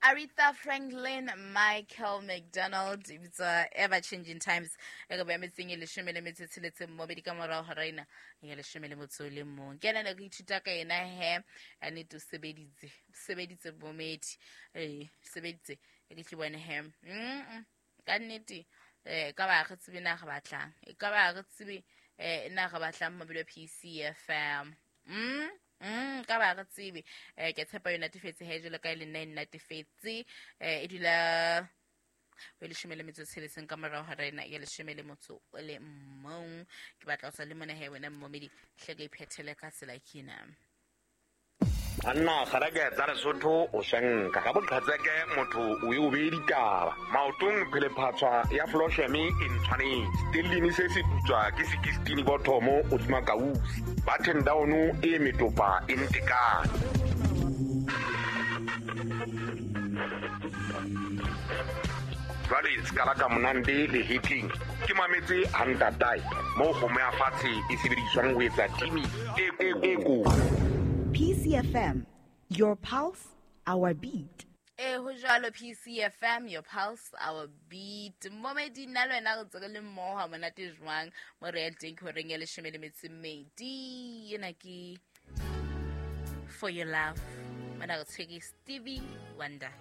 Aretha Franklin, Michael McDonald, e bitswa Ever Changing Times. E ka ba metseng e 16 mmobedi ka morao ga raina ya 11. Ke ena ne re ithuta ka ena he, a nnete o sebeditse, o sebeditse momedi, ee, sebeditse e ke tle bone he. Ka nnete ka ba re tsebe na re batlang, e ka ba re tsebe na re batlang mobile wa PCFM. Ka ba re tsebe ke tshepa yo natefetse he jalo ka e le nna e natefetse. E dula o 16 ka morago ga rena ya 11. Ke batla go sa le mone he wena mmomedi, hle ka iphethele ka tsela ke ena. Banna kgareke tsa Lesotho o shenka ga boqhetseke motho o e o beye ditaba maotong phelephatshwa ya flosheme e ntshwanetse stellini se se putswa ke sekistini bothomo o tsuma kausi button down e metopa e ntekane. Jwale sekala ka monande le hetleng ke mametse hantatae moo kgomo ya fatshe e sebediswang ho etsa timi e ko. PCFM, your pulse, our beat. E ho jwalo, PCFM, your pulse, our beat. Momedi, nna le wena re ntse re le mmoho ha monate jwang mo re yang teng ke horeng ya 12. Ena ke For Your Love, mona re tshwere Stevie Wonder.